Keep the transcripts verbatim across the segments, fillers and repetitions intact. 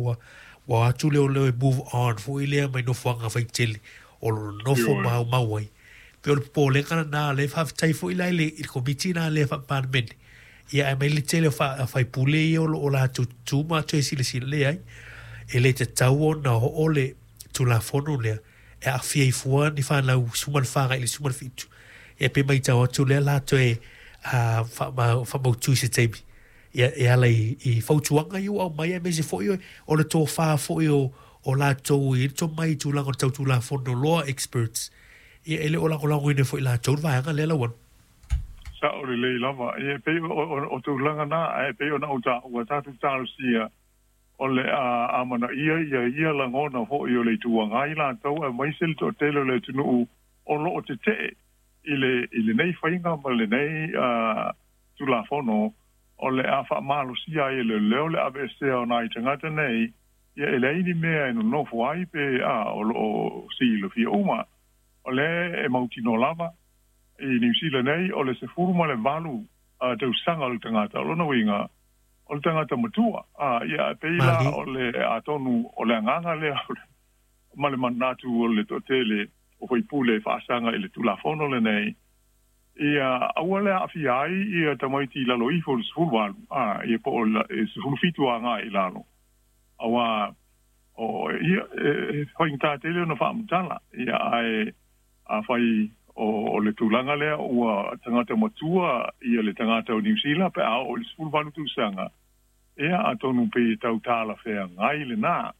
ua ua atu leo leo e move on foi lea mai nofoaga faitele o lo nofo maumau ai. Pe o le popolega lena lea faafetai foi la i le i le komiti lena lea faa-Palemene. Ia ae mai le tele o faipule ia o lo o latou tutu ma toe silasila lea ai. E le tatau ona oo le Tulafono lea e aafia ai fua ni fanau sefulu ma le fa agai i le sefulu ma le fitu. Ia pe matau atu lea la toe faamautu i se taimi. Ia e ala i, i fautuaga ia ua aumai aemaise foi o le tofa foi o, o latou i le tomai i tulaga o le tau Tulafono Law experts. Ia e le o lagolagoina foi latou le vaega lea Lauano. Sa'o lelei lava. Ia e pei o, o, o tulaga na, ae pei ona ou taua tatou talosia o le a amanaia ia ia lagona foi o le Itu Agai latou aemaise le toatele o le atunuu o lo o tetee i le i lenei faiga ma lenei uh, Tulafono o le a faamalosia ai e leoleo le aveesea o nai tagata nei. Ia e leai ni mea e nonofo ai pe a o lo o silafia uma o lea e mautinoa lava i Niu Sila nei o le sefulu ma le valu uh, tausaga o le tagata, o lona uiga o le tagata matua. A ia e pei la o le atonu o le agaga lea ma le manatu o le toatele o faipule e faasaga i le Tulafono lenei, ia aua le aafia ai ia tamaiti i lalo ifo o le sefulu valu, a ia po o le sefulu fitu agai i lalo, auā o ia e faigata tele ona faamatala. Ia ae afai o, o le tulaga lea ua tagata matua ia le tagata o Niu Sila pe a oo i le sefulu valu tausaga, ia atonu pe tau talafeagai lenā.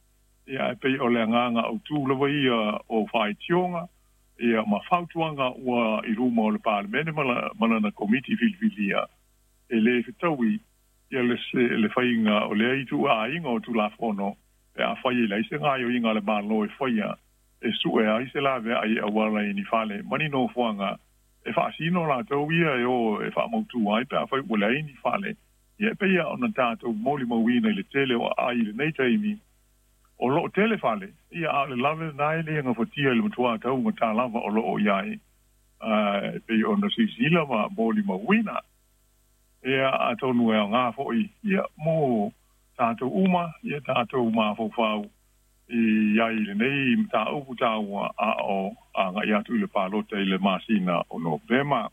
Ia e pei o le agaga autū lava ia o faitioga ia ma fautuaga ua i luma o le Palemene ma, la, ma lana komiti filifilia, e lē fetaui ia le, se, le faiga o lea ituaiga o Tulafono pe afai e leai se gaoioiga a le Malo e faia e su'e ai se laveai e auala i ni fale ma ni nofoaga e faasino latou ia e o e faamautū ai pe afai ua leai ni fale. Ia e pei ona tatou molimauina i le tele o aai i lenei taimi o loo tele fale, ia a o le lave lenā e le gafatia i le matuā taugatā lava o loo i ai e pei ona silasila ma molimauina. Ia atonu e aogā foi ia mo tatou uma ia tatou mafaufau i ai i lenei mataupu taua a o agai atu i le palota i le masina o Novema.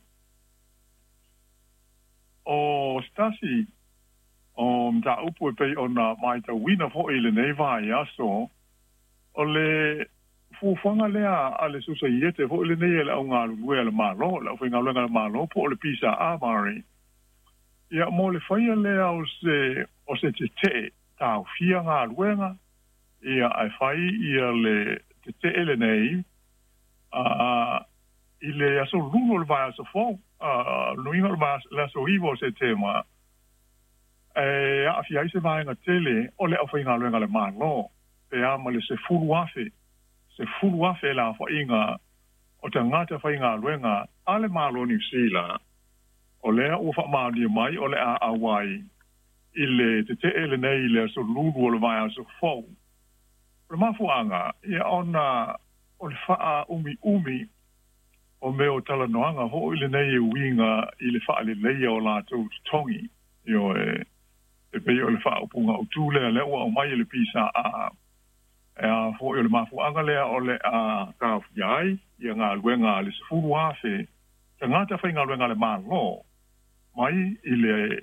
O se tasi o mataupu e pei ona matauina foi i lenei vaiaso o le fuafuaga lea a le Sosaiete foi lenei e le augalulue a le Malo, le aufaigaluega a le Malo po o le P S A Mari, ia mo le faia lea o se o se tetee taofia galuega. Ia ae fai ia le tetee lenei a i le aso lulu o le vaiaso fou, luiga o le aso iva o Setema, e aafia ai se vaega tele o le aufaigaluega a le Malo pe a ma le sefulu afe sefulu afe le aofaiga o tagata faigaluega a le Malo o Niu Sila o lea ua faamaonia mai o le a auai i le tetee lenei i le aso lulu o le vaiaso fou. O le mafuaaga ia ona o le faaumiumi o mea o talanoaga foi lenei e uiga i le faaleleia o latou totogi. Ioe, e pei o le faaupuga autū lea lea ua aumai e le P S A, e a foi o le mafuaaga lea o le a taofia ai ia galuega a le sefulu afe tagata faigaluega a le Malo mai i le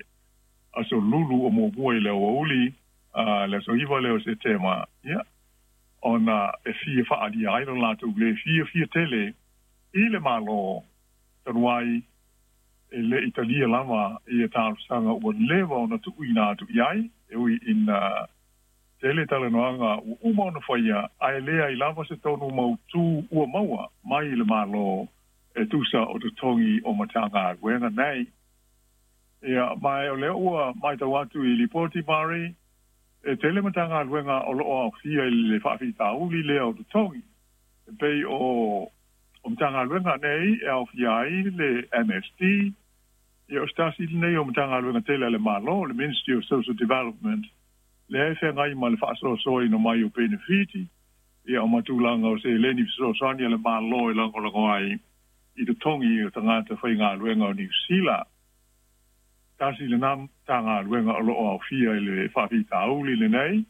aso lulu o muamua i le aoauli le aso iva lea o Setema, ia ona e fia faaalia ai lo latou le fiafia tele i le Malo talu ai e le i talia lava ia talosaga ua leva ona tuuina atu i ai, e ui ina tele talanoaga ua uma ona faia ae leai lava se tonu mautū ua maua mai i le Malo e tusa o totogi o Matagaluega nei. Ia ma o lea ua matau atu i lipoti Mari e tele Matagaluega o loo aofia i le faafitauli lea o totogi, e pei o o Matagaluega nei e aofia ai le M S D, ia o se tasi lenei o Matagaluega tele a le Malo, le Ministry of Social Development, lea e feagai ma le faasoasoaina mai o penefiti, ia o matulaga o seleni fesoasoani a le Malo e lagolago ai i totogi o tagata faigaluega o Niu Sila. Tasi lenā Matagaluega o loo aofia i le faafitauli lenei.